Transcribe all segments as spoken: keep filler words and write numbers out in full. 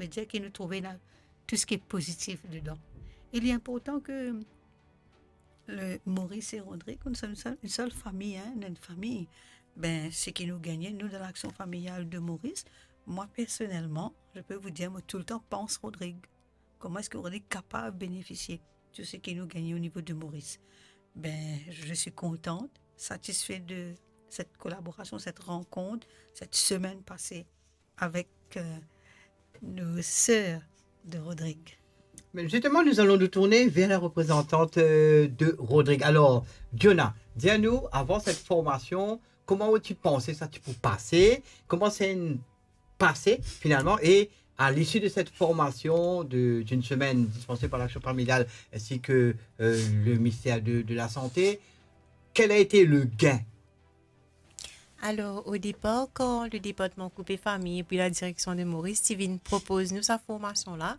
Savedir ki nou trouve la tou seki pozitif dedan. E li inportan ke le Maurice e Rodrigue, nou som enn sel, enn sel fami, hein, nou enn fami. Be, seki nou gagne, nou, dan laksion familial de Maurice, mwa, personelman, je peux vous dire, mo toultan pans Rodrigue. Kouma eski Rodrigue kapav benefisie de seki nou gagne o nivo de Maurice? Be, je suis contente, satisfaite de cette collaboration, cette rencontre, cette semaine passée avec, euh, nos sœurs de Rodrigue. Mais justement, nous allons nous tourner vers la représentante, euh, de Rodrigue. Alors, Diona, dis à nous, avant cette formation, comment as-tu pensé ça, tu peux passer? Comment c'est une passé finalement? Et à l'issue de cette formation de, d'une semaine dispensée par l'Action Familiale ainsi que, euh, le ministère de, de la Santé, quel a été le gain? Alor, o depar, kan le departman Koup e Fami epi la direksion de Maurice ti vinn propoz nou sa formasion la,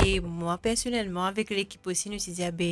e mwa personelman avek lekip osi, nou ti dir, be,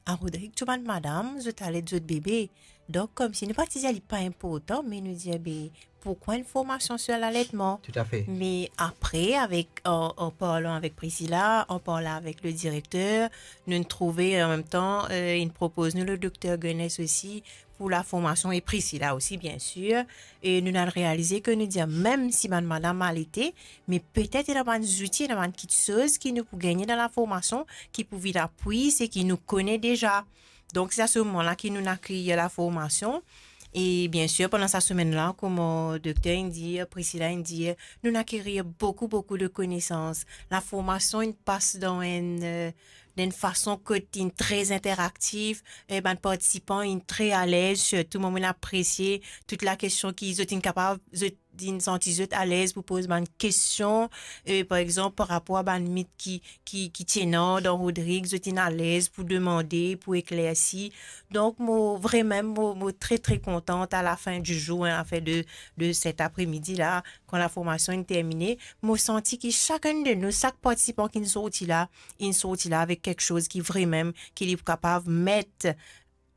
a Rodrigue, tou bann madam, zot al ed zot bebe. Donk, koumsi nou pa ti dir li pa inportan, me nou dir, be, pourkwa enn formasion sir laletman? Toutafe. Me apre, avek, an, an parlan avek Priscilla, an parlan avek le direkter, nou trouve, an mem tan, euh, inn propoz nou le dokter Gunness osi pou la formasion, e Priscilla osi, bien sir. E nou al realize ke nou dir, mem si bann madam alete, me petet ena bann zouti, ena bann kiksoz ki nou pou gagne dan la formasion, ki pou vinn apwi seki nou kone deza. Donk, se a se moman la ki nou inn akeyir la formasion. E bien sir, pandan sa semenn la, kouma dokter inn dir, Priscilla inn dir, nou inn akeyir boukou, boukou de konesans. La formasion inn pas dan enn, euh, dan enn fason kot inn tre interaktif, e bann partisipan inn tre alez, sirtou mwa, mo'nn apresie tou la kestion ki zot inn kapav, zot inn santi zot alez pou poz bann kestion, e, par exanp, par rapor a bann mit ki, ki, ki ti ena dan Rodrigue, zot inn alez pou demande, pou eklersi. Donk, mo, vremem, mo, mo tre, tre kontan a la fin di zour, hein, anfin de, de set apremidi la, kan la formasion inn termine, mo santi ki sakenn de nou, sak partisipan ki inn sorti la, inn sorti la avek kiksoz ki vremem, ki li pou kapav met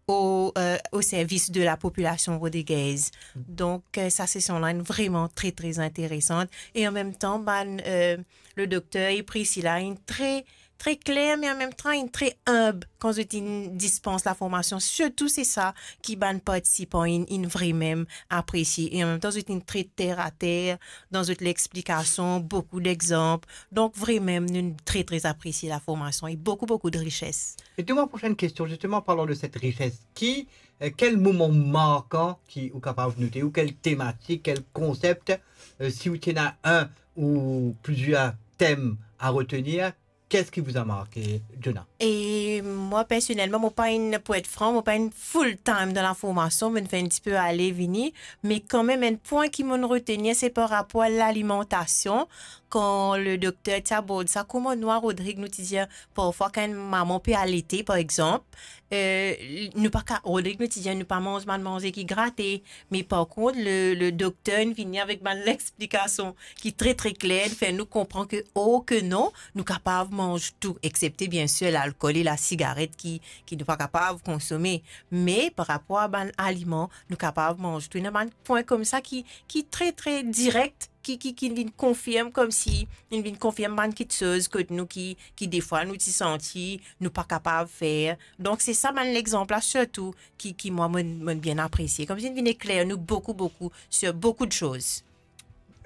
o, euh, o servis de la popilasion rodrigez. Donk, euh, sa sesion la inn vreman tre, tre interesan. E an mem tan, bann, euh, le dokter e Priscilla inn tre, tre kler, me an mem tan, inn tre inb kan zot inn dispans la formasion. Sirtou, se sa ki bann partisipan inn, inn vremem apresie. E an mem tan, zot inn tre ter a ter dan zot lexplikasion, boukou dexanp. Donk, vremem, nou tre, tre apresie la formasion e boukou, boukou de rises. Et de ma prochaine question, justement, parlant de cette richesse, qui, euh, quel moment marquant ki ou kapav note, ou quel tematik, quel konsep, euh, si ou ti ena enn ou plizier tem a retenir, qu'est-ce qui vous a marqué, Diona? E mwa, personelman, mo pa enn, pou et fran, mo pa enn full time dan la formasion, mo'nn fer enn tipe ale vini, me kanmem, enn pwin ki mo'nn retenir, se par rapor a lalimantasion, kan le dokter ti abord sa, kouma nou a Rodrigue, nou ti dir, parfwa, kan enn mama pe alete, par exanp, euh, nou pa ka, Rodrigue, nou ti dir, nou pa manz bann manze ki grate, me par kont, le, le dokter inn vini avek bann lexplikasion ki tre, tre kler, fer nou konpran ke, oh, ke non, nou kapav manz tou, exsepte, bien sir, lalkol e lasigaret ki, ki nou pa kapav konsome. Me par rapor a bann aliman, nou kapav manz tou. Ena bann pwin koumsa ki, ki tre, tre direk, ki, ki, ki vinn konfirm, koumsi inn vinn konfirm bann kiksoz kot nou ki, ki defwa nou ti santi nou pa kapav fer. Donk, se sa bann lexanp la sirtou ki, ki mwa, mo'nn, mo'nn bien apresie. Koumsi inn vinn ekler nou boukou, boukou, sir boukou de soz.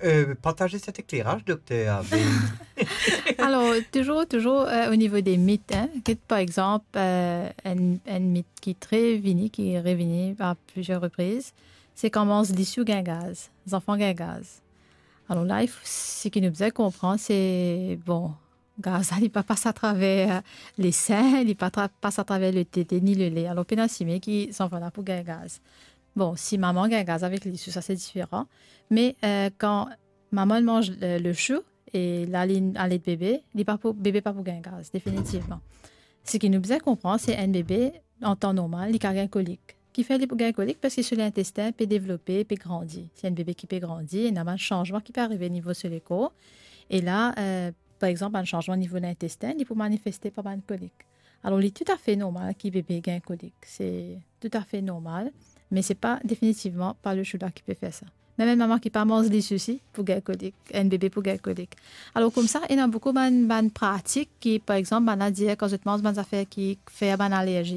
Euh, partagez cet éclairage, docteur. Alor, touzour, touzour, euh, o nivo de mit, hein, ki, par exanp, euh, enn, enn mit ki tre vini, ki revini a plizier repriz, se kan manz lisiou gagn gaz, zanfan gagn gaz. Alor la, il faut, seki nou bizin konpran, se, bon, gaz la, li pa pas atraver le sin, li pa tra-, pas atraver le tete ni le le. Alor, pena sime ki zanfan la pou gagn gaz. Bon, si mama gagn gaz avek lisiou, sa se diferan. Me, euh, kan mama manz le, le sou, e la li alet bebe, li pa pou, bebe pa pou gagn gaz, definitivman. Seki nou bizin konpran, se enn bebe, an tan normal, li kav gagn kolik. Kifer li pou gagn kolik? Parski so lintestin pe devlope, pe grandi. Se enn bebe ki pe grandi, ena bann sanzman ki pe arive nivo so lekor. E la, euh, par exanp, bann sanzman nivo lintestin, li pou manifeste par bann kolik. Alor, li toutafe normal ki bebe gagn kolik. Se toutafe normal, me se pa definitivman pa le sou la ki pe fer sa. Mem enn mama ki pa manz lisiousi pou gagn kolik, enn bebe pou gagn kolik. Alor koumsa, ena boukou bann, bann pratik ki, par exanp, bann la dir kan zot manz bann zafer ki fer bann alerzi.